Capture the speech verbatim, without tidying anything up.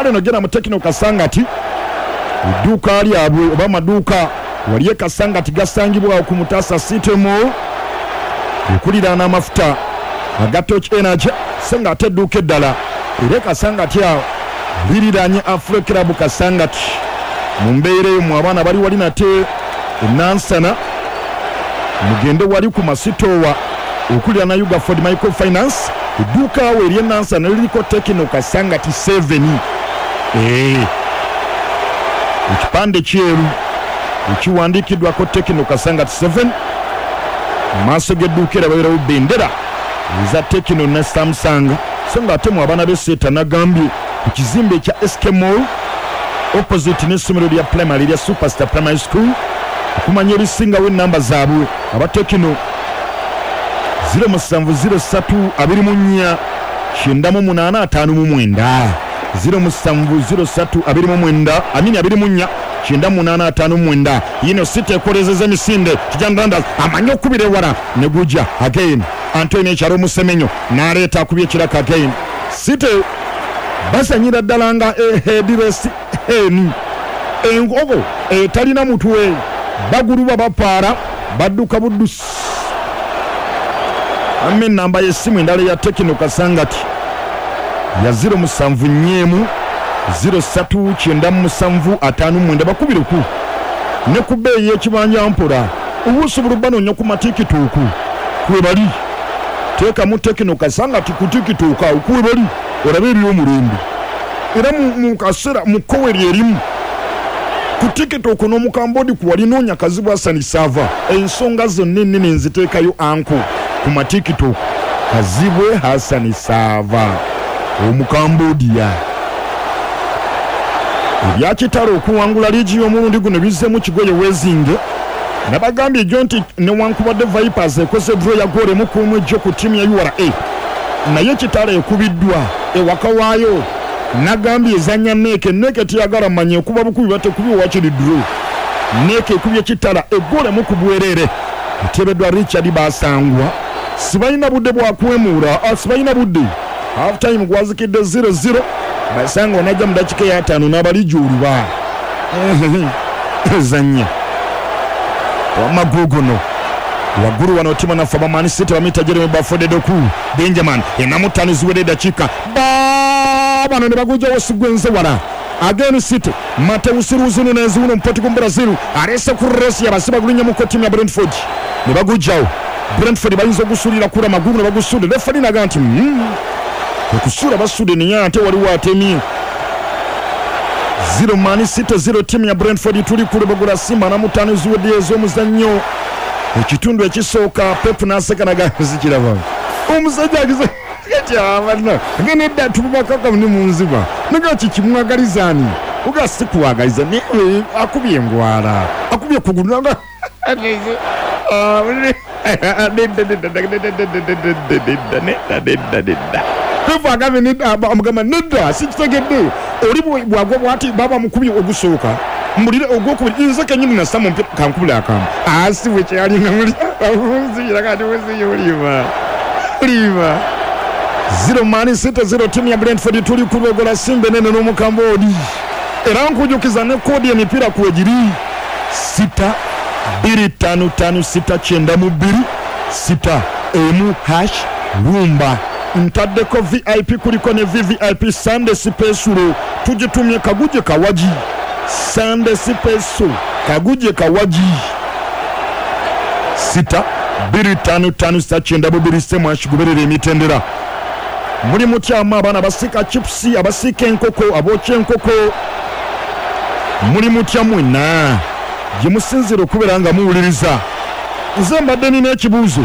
Kale nogenda mu Tekino Kasangati, edduuka lyabwe oba amaduuka wali e Kasangati gasangibwawo ku Mutasa City Mall okuliraana amafuta aga Torch Energy, so nga ate edduuka eddala era e Kasangati awo liriranye Afro Club Kasangati. Mu mbeera eyo mu abaana bali wali nate enansana, mugende wali ku Masitowa okuliraana Ugaford Microfinance, edduuka awo ery'enansana liriko Tekino Kasangati seven. Ee, ekipande kyeru ekiwandiikiddwako Tekino Kasangati seven. Mu maaso g'edduuka era babeerawo bendera eza Tekino ne Samsung. So nga ate mu abaana b'eseeta nagambye ku kizimbe ekya S K Mall opposite n'essomero lya primary lya Superstar Primary School. Okumanya ebisingawo ennamba zaabwe aba Tekino zero musanvu zero ssatu abiri mu nnya kyenda mu munaana ataano mu mwenda, zero musanvu zero ssatu abiri mu mwenda amini abiri mu nnya kyenda mu munaana ataano mu mwenda. Yino City ekolezeza emisinde, Tijani Randers amanyi okubira ewala ne gujja again. Antonio Ekyalo Musemenyo n'aleeta akubye ekiraka again. City basanyira ddala nga headless hen, enkoko etalina mutwe, baguluba bapaara badduka buddusi. Amma ennamba y'essimu endala ya Tekino Kasangati ya zero musanvu nnya emu zero ssatu kyenda musanvu ataano mwenda, bakubireku ne ku bbeeyi y'ekibanja mpola obusobola banoonya ku matikituuku kwe bali. Teekamu Tekino Kasangati ku tikituuku awo kwe bali olabe eby'omulembe. Era mu kaseera mu kkowe lyerimu ku tikituuku n'omukambodi ku wali noonya Kazibwe Hassan Saava, ensonga zonna ennene nziteekayo anko ku matikituuku. Kazibwe Hassan Saava omukambodiya. Ebyakitalo okuwangula liigi y'omulundi guno bizzeemu kigoye weezinge. Nabagambye ejjo nti newankubadde Vipers ekoze draw ya goal emu ku emu ejjo ku ttiimu ya U R A, naye Kitalo ekubiddwa ewaka waayo. Nagambye ezannya Neeke, Neeke teyagala manya ekuba bukubi batekubi wakiri draw. Neeke ekubye Kitala eggoolo emu ku bwereere eteebeddwa Richard Basangwa. Sibalina budde bwa kwemuula, sibalina budde. Half time gwazikidde zero zero. Basangwa najja mu dakiika ey'ataano n'abalijjuuluba ezannya wamaguguno waggulu wano tima naffe abamanyi City bamuyita Jeremy Bafodde Doku Benjamin enamu ttaano ziwedde eddakiika bano ne bagujjawo sigwenze wala. Again City Mateus Ruzunu n'eziwuno Portugal Brazil alese ku resi abasiba gulinnya mu ttiimu ya Brentford ne bagujjawo. Brentford bayinza ogusuulira kula magulu ne bagusudde. Refari naga nti okusuula basudde naye ate waliwo atemye. Zero Man City zero ttiimu ya Brentford. Tuli ku Lubagula Simba na mutaano ziwedde ez'omuzannyo ekitundu ekisooka. Pep n'aseka naga zikiraba omusajja agize kati abana ngene tububakaka ne munziba naga kikimwagalizaani uga sikuwagaliza naye akubye engwala akubye kugulu naga Pep agambye nedda, amugamba nedda sikitegedde oli bwagwa bwati baba mukubye ogusooka mbulire ogwokubiri nze kennyini nassa mu mpira kankubule akamu asi bwe kyalinga muli kati muziyo olima zero Man City zero ttiimu ya Brentford. Tuli ku Lubagula Simba enene n'omukambodi. Era nkujukiza ne koodi emipiira kwegiri sita bbiri ttaano ttaano sita kyenda mu bbiri sita emu hash rumba. Ntaddeko V I P kuliko ne V V I P Sunday Special tugitumye Kaguje Kawaji. Sunday Special Kaguje Kawaji sita bbiri ttaano ttaano sita kyenda mu bbiri semu ashiguberera emitendera. Muli mutyama abaana abasiika chipusi, abasiika enkoko, abookya enkoko, muli mutya mwenna gye musinziira okubeera nga muwuliriza. Nze mbadde nina ekibuuzo.